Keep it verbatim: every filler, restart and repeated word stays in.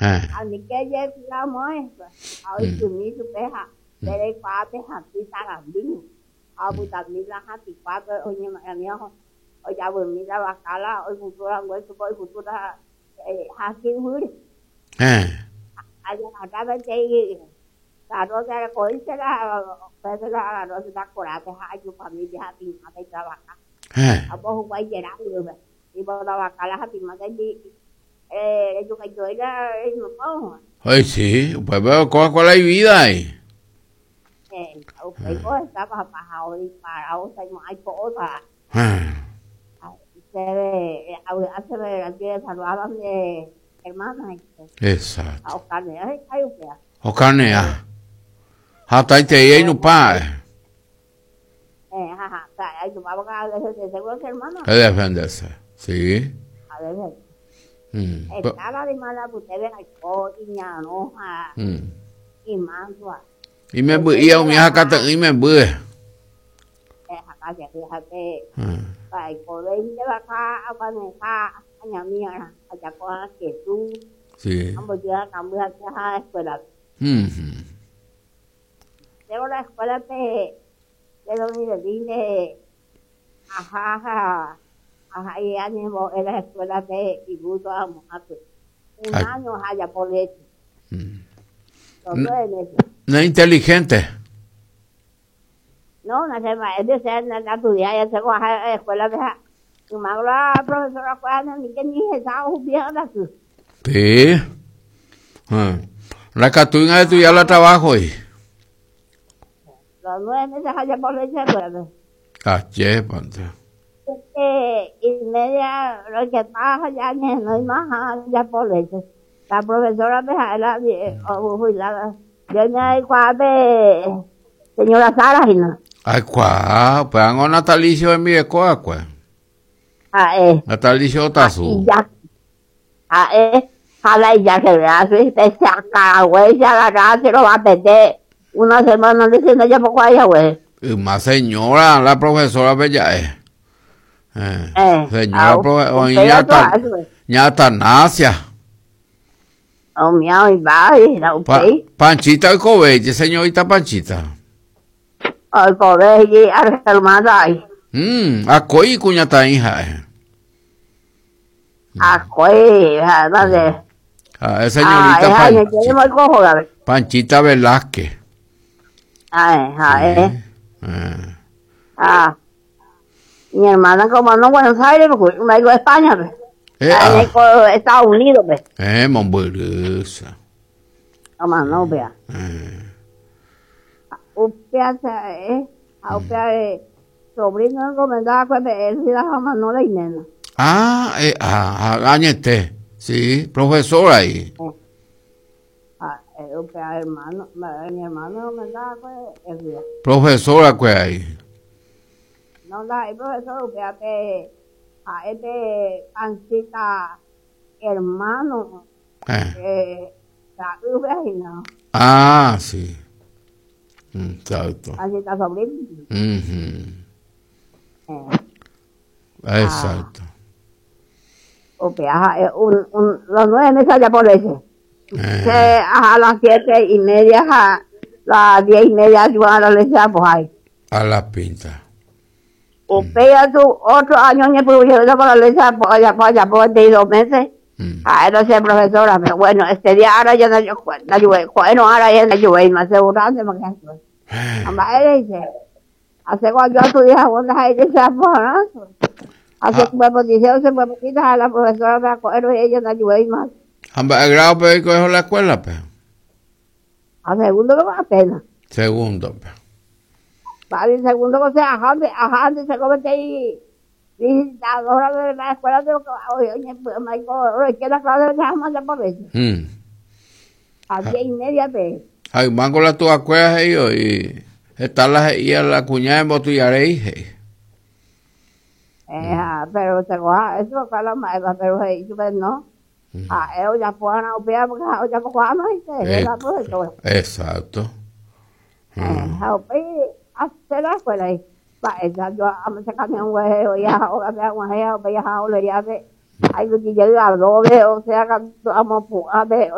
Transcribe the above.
Eh. A mí que ye la muestra. A hoy mi su peja. Pero cuate hati tarandino. A butamila hati cuate oye mi ojo. Oye mira bacala hoy futura hueso hoy futura eh hati huri. Eh. Allá acá me te Claro, que coice la pues la no se da coraje a su familia hati mate trabaja. Eh. A vos guay llenar y vos la bacala hati mate eh yo que yo era no pongo. Ay, sí, pues veo cuál cuál hay vida ahí. Eh, okay, pues estaba bajado y parado, o sea, no hay cosa. Eh. Se ve, hace ver que saludaban de hermana. Exacto. A carne, ay, ay, O carne, ah. Hasta ahí te no pa. Eh, ajá, ay, yo vamos a seguro hermano. A defenderse. Sí. A ver. Mm. Estaba de mala ustedes y ñanoja y mantua. Y me y a mi hija y me bue. Eh, acá se fíjate. Ay, poder de acá a manejar a ñamia, allá con que tú. Sí. Ambos ya cambian a la escuela. Mhm. Tengo la escuela de de donde vine. Ajá, ajá. Ajá, y ánimo en la escuela de Ibuto a Mojape. Un año allá por leche. Mm. Los nueve meses. No es inteligente. No, no sé, es de ser, no estudiar, ya se coge a la escuela de mi madre, la profesora, cuando ni que ni se sabe bien la su. Sí. Ah. La catuina de estudiar la trabajo y. Los nueve meses allá por leche, pues. Ah, che, pante. Este, y media, lo que pasa ya no hay más ya por leche. La profesora me la jubilada. Yo me cuál señora Sara, y no. Ay, cuá, pues hago natalicio en mi escuela, cuá. Ah, eh. Natalicio Otazu. Ya. Ah, eh. Jala y ya se ve así, se saca, güey, se agarra, se lo va a perder. Una semana diciendo ya poco allá, güey. Y más señora, la profesora bella, eh. Eh, eh señora profesora, ña Atanasia. Oh, miau, y va, y la Pa, Panchita y Cobelle, señorita Panchita. Ay, Cobelle, hermana, ay. Mm, akoi cuñata hija. Eh. Akoi, ¿dónde? Ah, es señorita ah, Panchita. Panchita Velázquez. Ay, ay. Sí. Eh. Ah. Mi hermana como no Buenos Aires, porque me digo España, pues. Eh, ah. Estados Unidos, pues. Eh, momburusa. Toma, no, vea. Eh. Upea, eh, upea, eh, sobrino encomendaba pues, él sí la no la nena. Ah, eh, ah, añete, sí, profesor ahí. Eh. Ah, eh, upea, hermano, mi hermano encomendaba pues, él sí. Profesora, pues ahí. No, la, el profesor, upea, te, a este pancita hermano eh. eh la no. Ah, sí. Exacto. Pancita sobrino. Uh-huh. Eh. Exacto. Ah. Okay, ajá, un, un, los nueve meses allá por leche. Eh. A las siete y media, a las diez y media, si van a la leche, pues ahí. A la pinta. Usted su ocho años ni pudo para la leche, pues allá, pues allá, por veintidós meses. Mm. Ah, no sé, profesora, pero bueno, este día ahora ya no yo, bueno, ahora ya no yo, más seguro, porque mamá dice, hace cuando yo estudié, cuando ahí dice, ¿no? Hace ah. dice, se puede quitar a la profesora, me acuerdo, y ella no ayudó más. ¿El grado pero cogió la escuela, pues? A segundo que va apenas. Segundo, pues. Vale, segundo, o sea, ajá, ajá, se come ahí. Visitadora de la escuela de oye, oye, que la clase de la por eso. Mm. A diez y media, pues. Ay, mango la tu acuerdas ellos y está la y a la cuñada en Botullaré, Eh, mm. pero se coja, eso fue la maestra, pero hey, yo no. Mm. Ah, ellos ya fueron a opiar porque ya cojan, eh, la profesora. Exacto. Mm. Eh, hacer la escuela ahí. Pa, esa yo a me sacarme un huevo, ya, o me un huevo, ya, o le hace. Ay, yo llegué a doble, o sea, amo, a ver,